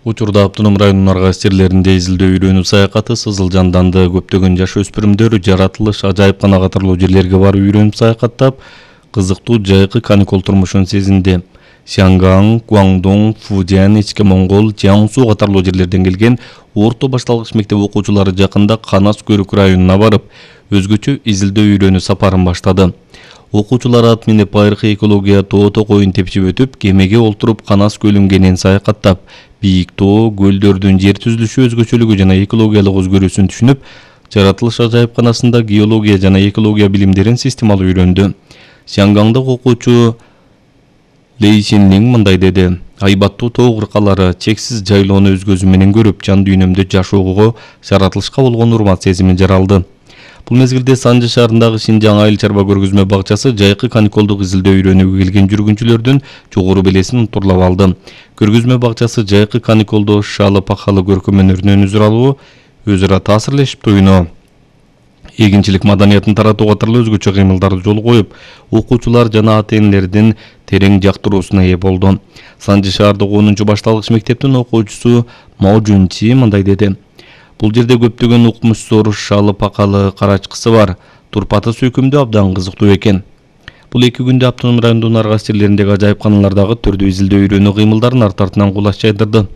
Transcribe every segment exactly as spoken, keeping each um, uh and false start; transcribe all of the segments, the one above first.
Учурда автоном районунун арга стерлеринде изилдөө үйрөнүү саякаты сызыл жанданды. Көптөгөн жаш өспүрүмдөр жаратылыш, ажайыпкана катарлуу жерлерге барып үйрөнүп саякаттап, кызыктуу жайкы каникул турмушун сезинди. Сянган, Гуандун, Фудзян, Ичке Монгол, Жиаңсу катарлуу жерлерден келген орто башталгыч мектеп окуучулары жакында Канас Көрүк районуна барып, өзгөчө изилдөө үйрөнүү сапарын баштады. Окуучулар ат минип айрыкы экология тоото коюн тепчип өтүп, кемеге олтуруп Канас көлүн кенен саякаттап, бийик тоо, көлдөрдүн жер түзүлүшү өзгөчөлүгү жана экологиялык өзгөрүүсүн түшүнүп, жаратылыш ажайыпканасында геология жана экология билимдерин системалуу үйрөндү. Сянгандык окуучу Лей Синлин мындай деди: айбаттуу тоо кыркалары, чексиз жайлоону өз көзүм менен көрүп, жан дүйнөмдө жашоого, жаратылышка болгон урмат сезими жаралды. Бул мезгилде Санжы шаарындагы Шинжаң айыл чарба көргөзмө бакчасы жайкы каникулдук изилдөө үйрөнүүгө келген жүргүнчүлөрдүн жогору белесин турлап алды. Көргөзмө бакчасы жайкы каникулдуу шалы пакалы көркөм өнөрүнөн үзүр алуу, өзара таасирлешип туюну, эгинчилик маданиятын таратуу катарлуу өзгөчө кыймылдарды жолго коюп, окуучулар жана ата-энелердин терең жактыруусуна ээ болду. Санжы шаардык онунчу башталгыч мектептин окуучусу Мо Жунчи мындай деди: бул жерде көптөгөн укмуш-сор, шалы пакалы карачкысы бар. Турпаты сүйкүмдүү абдан кызыктуу экен. Бул эки күндө автоном райондун арга стерлериндеги ажайыпканалардагы түрдүү изилдөө үйрөнүү кыймылдарын арт артынан кулаш жайдырды.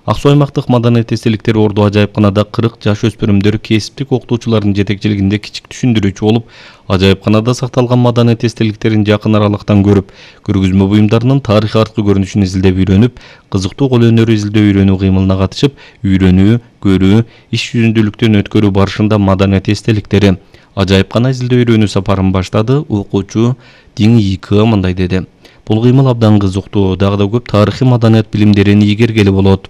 Ак Суу аймактык маданият эстеликтери орду ажайыпканада кырк жаш өспүрүмдөр кесиптик окутуучулардын жетекчилигинде кичик түшүндүрүүчү болуп, ажайыпканада сакталган маданият эстеликтерин жакын аралыктан көрүп, көргөзмө буюмдарынын тарыхый арткы көрүнүшүн изилдеп үйрөнүп, кызыктуу кол өнөрү изилдөө үйрөнүү кыймылына катышып, үйрөнүү, көрүү, иш жүзүндүүлүктөн өткөрүү барышында маданият эстеликтери, ажайыпкана изилдөө үйрөнүү сапарын баштады. Окуучу Диң Йикы мындай деди: бул кыймыл абдан кызыктуу, дагы да көп тарыхый маданият билимдерин ийгергели болот.